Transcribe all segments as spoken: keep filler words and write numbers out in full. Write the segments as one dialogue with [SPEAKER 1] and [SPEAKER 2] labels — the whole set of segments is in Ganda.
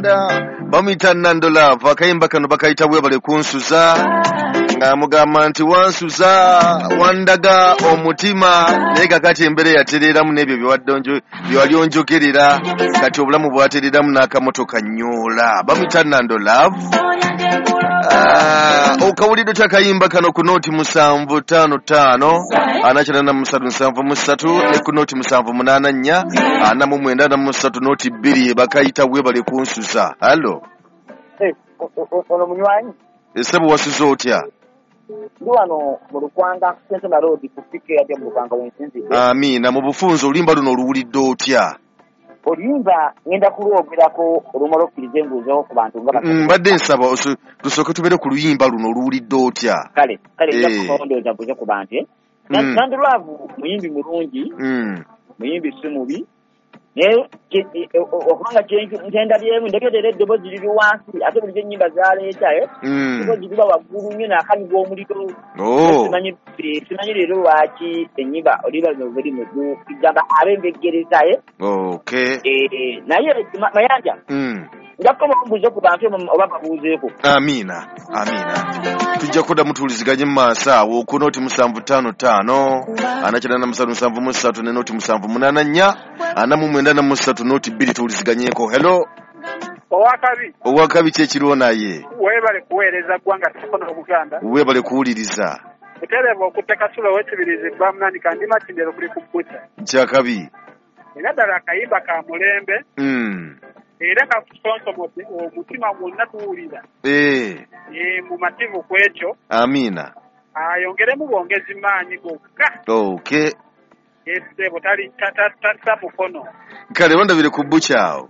[SPEAKER 1] Bamuyita Nando Love, akayimba kano bakayita Webale Kunsuza, ng'amugamba nti wansuza, wandaga omutima, naye kakati embeera yatereeramu n'ebyo bye wali onjogerera, kati obulamu bwatereeramu n'akamotoka nnyoola. Bamuyita Nando Love. Okawulidde otya akayimba kano ku nooti musanvu ttaano ttaano ana kyenda mu ssatu nsanvu mu ssatu ne ku nooti musanvu munaana nnya ana mu mwenda ana mu ssatu nooti bbiri, bakayita Webale Kunsuza. Hallo,
[SPEAKER 2] ono munywanyi
[SPEAKER 1] ssebo, wasuze otya?
[SPEAKER 2] Ndi wano mu Lukwanga Sentema Road ku P K yadde mu Lukwanga wensinzidde.
[SPEAKER 1] Amiina. Mu bufunze, oluyimba luno oluwulidde otya?
[SPEAKER 2] Oluyimba ngenda kulwogerako olumala okkiriza embuuzeho ku bantu nga
[SPEAKER 1] Mm, mbadde nsaba oso- tusooke tubeere ku luyimba luno, oluwulidde otya?
[SPEAKER 2] Kale kale, nja
[SPEAKER 1] Eh.
[SPEAKER 2] kulondooza mbuuze ku bantu, eh.
[SPEAKER 1] Mm.
[SPEAKER 2] Nando Love muyimbi mulungi,
[SPEAKER 1] Mm.
[SPEAKER 2] muyimbi si mubi, naye kye- e- e- okubanga kyendabyemu ndegeera eddoboozi liri wansi, ate bulijjo ennyimba zaleeta eh,
[SPEAKER 1] Mm.
[SPEAKER 2] eddoboozi liba waggulu nnyo n'akanyuga omuliro.
[SPEAKER 1] Oh.
[SPEAKER 2] Simanyi eh, simanyi leero lwaki ennyimba oliba luno buli mugu gamba ab'embeggereza eh.
[SPEAKER 1] Okay.
[SPEAKER 2] Eh, naye Ma- mayanja
[SPEAKER 1] Mm.
[SPEAKER 2] nja kukoma mbuuze ku bantu oba babuuzeeko.
[SPEAKER 1] Amiina, amiina, tujja kuddamu tuwuliziganye mu maaso awo ku nooti musanvu ttaano ttaano ana kyenda mu ssatu nsanvu mu ssatu ne nooti musanvu munaana nnya ana mu mwenda na mu ssatu nooti bbiri, tuwuliziganyeeko. Hello.
[SPEAKER 3] Owakabi.
[SPEAKER 1] Owakabi, kyekiriwo naye?
[SPEAKER 3] Weebale kuweereza ggwanga sikono Obuganda.
[SPEAKER 1] Weebale kuwuliriza.
[SPEAKER 3] Butereevu okutte Kasulo w'Ekibirizi Bamunani kandima kindero kuli ku bbuta.
[SPEAKER 1] Kyakabi.
[SPEAKER 3] Era ddala akayimba ka mulembe
[SPEAKER 1] Mm.
[SPEAKER 3] era kakusonsomodde omutima gwonna tuwulira.
[SPEAKER 1] Eh,
[SPEAKER 3] Eh, mumativu ku ekyo.
[SPEAKER 1] Amiina.
[SPEAKER 3] Ayongeremu bwongezi maanyi gokka.
[SPEAKER 1] Okay.
[SPEAKER 3] Essebo tali tassa mukono.
[SPEAKER 1] Kale, wandabire ku bbuki awo.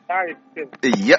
[SPEAKER 3] Kale ssebo.
[SPEAKER 1] Eya.